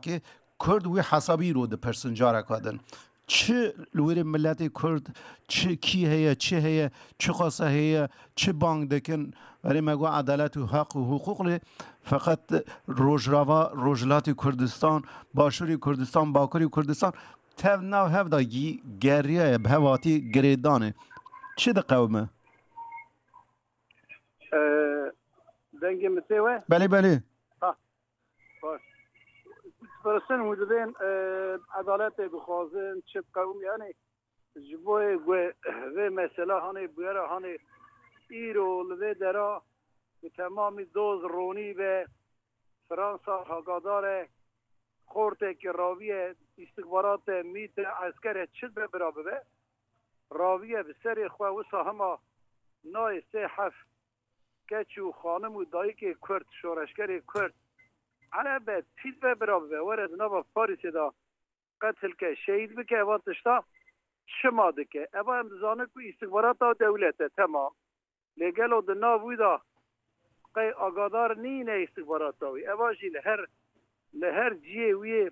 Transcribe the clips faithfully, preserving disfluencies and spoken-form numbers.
ke Kurd wî hesabî îro dipirsin careka din. Çi li wêrê miletê Kurd, çi kî heye, çi heye, çi xasa heye, çi bang dikin, erê me got edalet û heq û hiqûq lê feqet Rojrava, Rojhilatê Kurdistan, Başûrê Kurdistan, Bakurê Kurdistan tev nav hev de gî geriyaye, bi hev hatî girêdanê. Çi diqewime? Ee, dengê min tê we? Belê, belê. Ha, baş. Pirsên hûn dibên, e, edaletê dixwazin, çi qewim, yani, ji bo ku vê mesela hanê bûyera hanê îro li vê dera bi temamî doz ronî be, Fransa hagadar e, xortekî raviye, îstixbarate, mîte, eskere çi be bira bibe, raviye bi serê xwe wisa hema nayê sê heft keç û xanim û dayikê Kurd, şoreşgerê Kurd, elebet pîl ve bira bibe, were di nava Parîsê de qetil ke, şehîd bike, eva tişta çima dike? Eva em dizanin ku îstixbarata dewlet e, temam. Lê gelo di nav wî de qey agadar nîne îstixbarata wî? Eva jî li her, li her ciyê wî yê,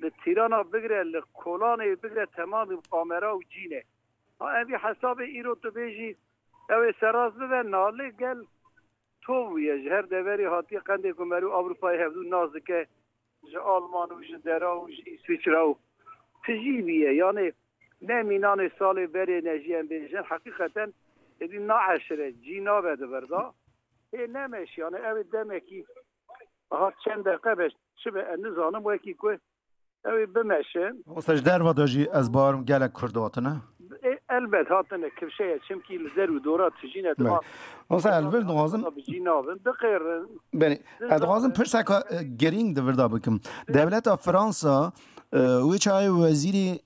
li Tîrana bigire, li Kolanê bigire, temamî kamera û cî ne. Ha, em vî hesabê îro tu bêjî, ew ê serrast bibe, na lê gel tov bûye. Ji her deverê hatiye qendê ku merû Ewropayê hevdû nas dike, ji Alman û ji dera û ji Îswîçra û tijî bûye. Yanê ne mînanê salê berê ne jî em bêjin, heqîqeten êdî naeşire, cî nabe di vir de. Hê nemeşiyane, ew ê demekî, aha, çend deqe be, çi be, ez nizanim, wekî ku ew ê bimeşin. Wisa ji derva de jî ez bawerim gelek Kurd hatine. E, elbet hatine kifşeye, çimkî li der û dora tijîne. Belê. Wisa ez vir dixwazim, bi cî nabin, diqêrin. Belê. Ez dixwazim pirseka, e, girîng di vir de bikim. Dewleta Fransa, e, wê çaxê wezîrê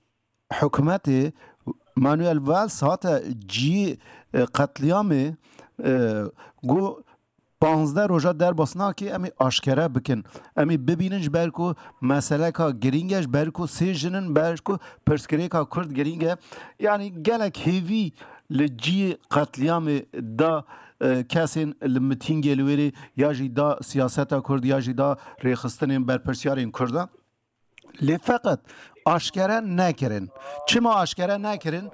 hikûmetê Manuel Valls hate cî, e, qetlîamê, e, got, panzdeh roja derbas nake, em ê aşkere bikin. Em ê bibînin, ji ber ku meseleka girîng e, ji ber ku sê jin in, ber ku pirsgirêka Kurd girîng e. Yanî gelek hêvî li cî qetlîamê da, e, kesên li mitîngê li wêrê ya jî da siyaseta Kurd ya jî da rêxistinên berpirsiyarên Kurdan. Lê feqet aşkere nekirin. Çima aşkere nekirin?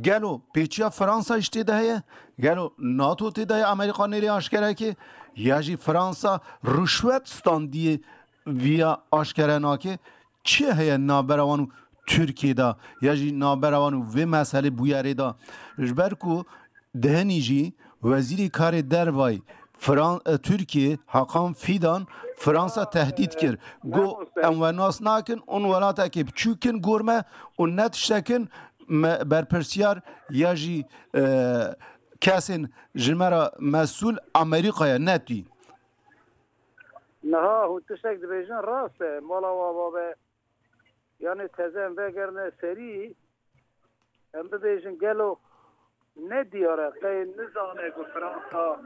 Gelo pêçiya Fransa jî tê de heye? Gelo nato tê de heye, Amerîka nêrê aşkere ke? Ya jî Fransa ruşwet standî ye, viya aşkere nake? Çi heye navbera wan û Tirkiyê de? Ya jî navbera wan û vê meselê bûyerê de? Ji ber ku Dihinî jî Wezîrê Karê Dervayî Fran-, e, Tirkiyê Hakan Fidan Fransa tehdît kir. Got, "Em we nas nakin, hûn welatekê biçûk in gor me û ne tiştekin me berpirsiyar ya jî, e, kesên ji me re mesûl Amerîkaya, ne tî." Niha hûn tiştek dibêjin rast e. Mala wa babe. Yanê teze em vegerine serî, em bibêjin gelo ne diyar e, qey nizane ku Fransa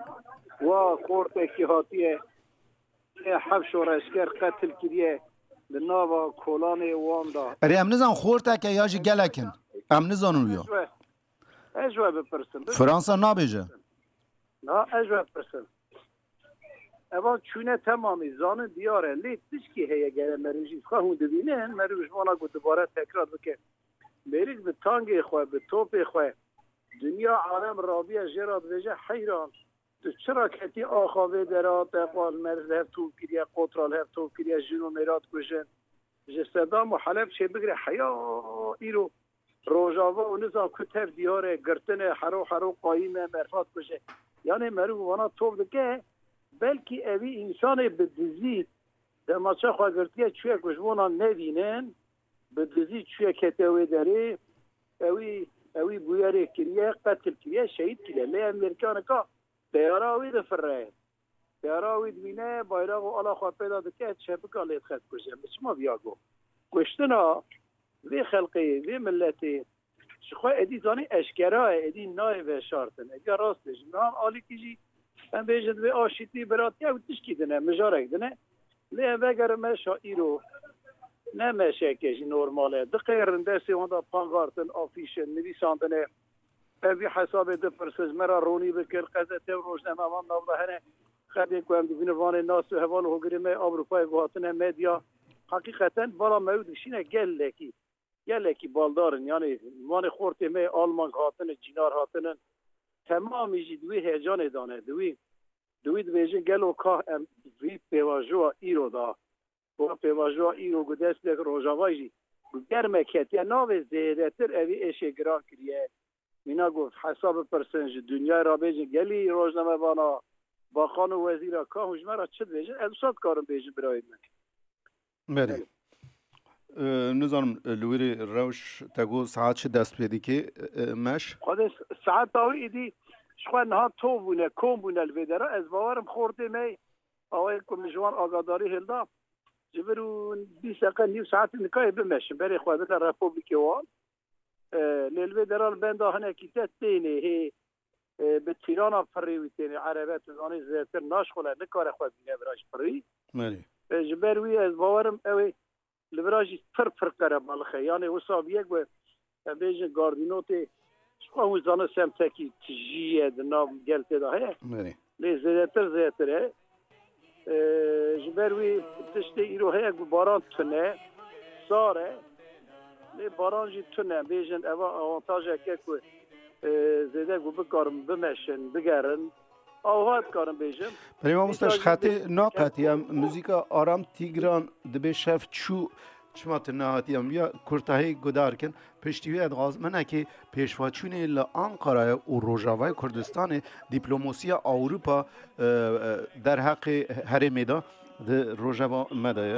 wa xortekî hatiye, heft şoreşger qetil kiriye li nava kolanê wan de. Erê, em nizan xorteke ya jî gelek in. Em nizanin wî ya. Ez ji we, ez ji we bipirsim. Fransa nabêje. Na, ez ji we bipirsim. Evan çûne temamî, zanin diyar e. Lê tişkî heye gere merî jî xwe hûn dibînin, merî ji vana ku dubare tekrar bike. Mêrik bi tangê xwe, bi topê xwe, dinya alem rabiye jê re dibêje heyran. Tu çira ketî axa vê dera, te qal meriv li hev tov kiriye, qotra li hev tov kiriye, jin û mêra dikujin. Ji Sedam û Heleb çêbigire heya îro Rojava û nizam ku tev diyar e, girtin e, hero hero qayîm e, merfa dikuje. Yanê meriv vana tov dike, belkî evî însanê bi dizî demaça xwe girtiye, çûye ku ji bona nevînin, bi dizî çûye kete wê derê, ewî, ewî bûyerê kiriye, qetil kiriye, şehîd kiriye. Lê ev mêrkanika teyara wî difire. Teyara wî dibîne, bayrax û ala xwe pê de dike, çepika lê dixe dikuje. Min çima viya got? Kuştina vê xelqê, vê miletê ji xwe êdî zanî eşkera ye, êdî nayê veşartin. Êdî rast bêjim. Niha alîkî jî em bêjin divê aşîtî, biratî ew tişkî din e, mijarek din e. Lê em vegerin meşa îro, ne meşeke jî normal e. Diqêrin, destê wan de pankartin, afîşin, nivîsandine. Ev vî hesabê dipirse, ji me re ronî bikin, qezete û rojnamevan nav de hene. Xelkê ku em dibînin vanê nas û heval û hogirê me Ewropayê ku hatine medya, Heqîqeten bala me ew dişîne gelekî, gelekî baldar in. Yanî wanê xortê me Alman hatine, cînar hatine. Temamî jî di wî heyecanê dane. Di wî, di wî dibêjin gelo ka em vî pêvajoya îro da. Wa pêvajoya îro ku dest pê Rojavayê jî ku germe ketiye navê zêdetir evî êşê giran kiriye. Mîna ku hesab bipirsin ji dinyayê re bêjin gelî rojnamevana, baxan û wezîra ka hûn ji me re çi dibêjin? Ez wisa dikarim bêjim birayê min. Belê. Belê. Ee, nizanim, e, li wî rê rewş te got saet çi dest pê dike, e, e, meş? Xwedê s-, saeta wî îdî ji xwe niha tov bûne, kom bûne li vê dera. Ez bawerim xortê me awayê ku min ji wan agadarî hilda, ji vir û bîst deqe nîv saetê nikayê bimeşin. Berê xwe bide Republikê wan. E, lê li vê dera li benda hinekî te tênê hê, e, bi tîrana pirî wî tênê. Erebe tu zanî zêdetir naşxule, nikare xwe bîne vira ji pirî. Belê. E, ji ber wî ez bawerim ew ê li vira jî pir pir qerebalix e. Yanê wisa bûye ku em bêjin gardînotê ji xwe hûn zanin semtekî tijî ye di nav gel tê de heye. Belê. Lê zêdetir zêdetir e. E, ji ber wî tiştê îro heye ku baran tune, sar e. Lê baran jî tune. Bêjin eva avantajek e ku, e, zêde ku bikarin bimeşin, bigerin. Awha dikarim bêjim. Belê mamoste, ji xetê naqetiye. Muzîka Aram Tîgran dibê şev çû, çima tu nehatiye? Em ya kurtahî guhdar kin. Piştî wê dixwazim hinekî pêşveçûnê li Ankarayê û Rojavayê Kurdistanê, dîplomasiya Ewropa, e, e, derheqê herêmê de di rojeva me de ye.